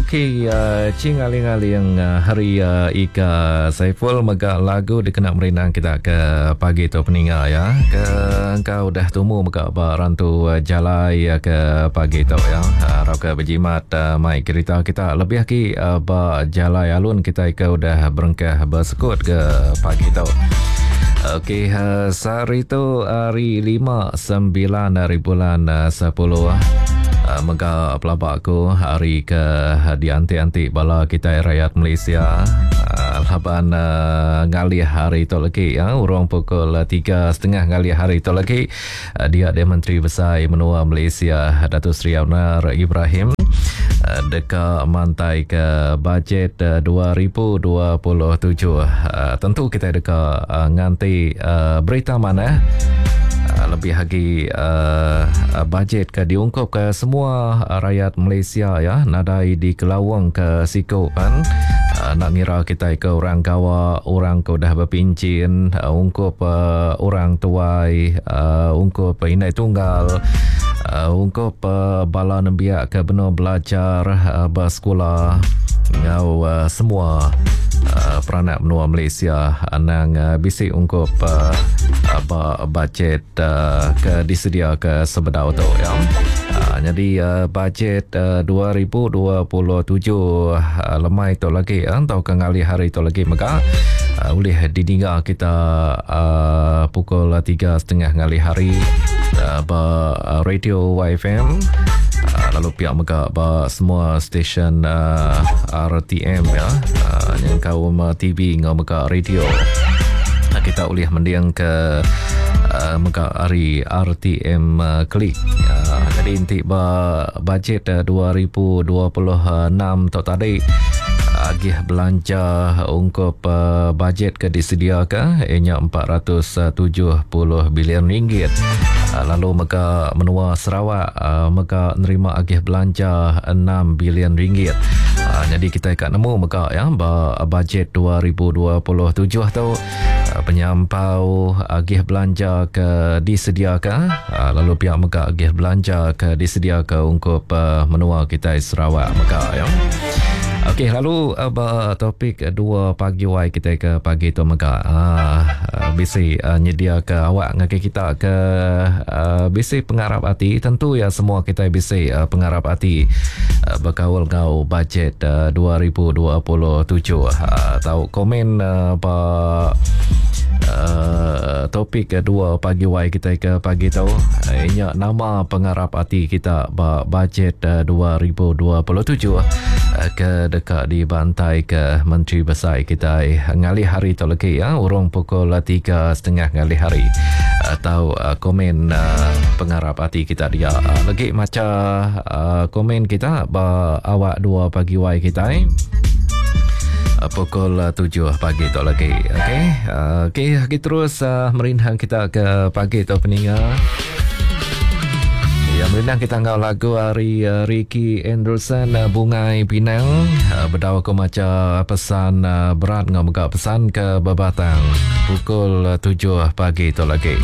Okey, Ching Aling-Aling hari Ika Saiful mega lagu dikena merindang kita ke pagi tu peninga ya. Ke engkau udah tumu mega ba rantu jalai ke pagi tu ya. Arap ke bejimat mai kerita kita lebih agi ba jalai alun kita ke udah berengkah besekut ke pagi tu. Okey, sehari tu hari 5 9 hari bulan 10 mega pelaba aku hari ke dianti-anti bala kita rakyat Malaysia laban ngalih hari tu lagi ya urung pukul 3.30 ngalih hari tu lagi dia dia Menteri Besai Menua Malaysia Datuk Seri Anwar Ibrahim deka mantai ke bajet 2027. Tentu kita deka nganti berita manah lebih agi bajet ke diungkup ke semua rakyat Malaysia ya nadai dikelawang ke siku kan nak ngira kita ke orang gawa orang ke udah berpincin ungkup orang tuai ungkup indai tunggal ungkup bala nembiak ke benung belajar ba sekula enggau semua peranak menua Malaysia anang bisi ungkup ba bajet ke disediaka sebedau tu ya. Nyadi bajet 2027 lemai tu lagi tauka ngalih hari tu lagi mega ulih didinga kita pukul 3.30 ngalih hari ba radio YFM lalu pihak mega ba semua stesen RTM ya nyengkaum TV enggau mega radio kita ulih mending ke mega ari RTM Klik. Jadi enti ba bajet 2026 tu tadi agih belanja ungkup bajet ke disediaka ianya 470 bilion ringgit. Lalu mega menua Sarawak mega nerima agih belanja 6 bilion ringgit. Jadi kita ka nemu mega ya ba bajet 2027 tu penyampau agih belanja ke disediaka lalu pia mega agih belanja ke disediaka ungkup menua kitai Sarawak mega ya. Okey lalu ba topik 2 pagi wai kitai ke pagi tu mega bisi nyediaka awak ngagai kita ke bisi pengarap ati tentu ya semua kitai bisi pengarap ati bekaul enggau bajet 2027. Tau komen ba topik 2 pagi wai kitai ke pagi tu inya nama pengarap ati kita ba bajet 2027 ke deka dibantai ke Menteri Besai kitai ngalih hari tu lagi ya urung pukul 3.30 ngalih hari atau komen pengarap ati kita dia lagi maca komen kita ba awak 2 pagi wai kitai pukul 7 pagi tu lagi. Okey. Okey, kita terus merindang kita ke pagi tu peninga. Ya, merindang kita enggau lagu ari Ricky Anderson Bungai Pinang. Bedau aku maca pesan berat enggau mega pesan ke bebatang pukul 7 pagi tu lagi.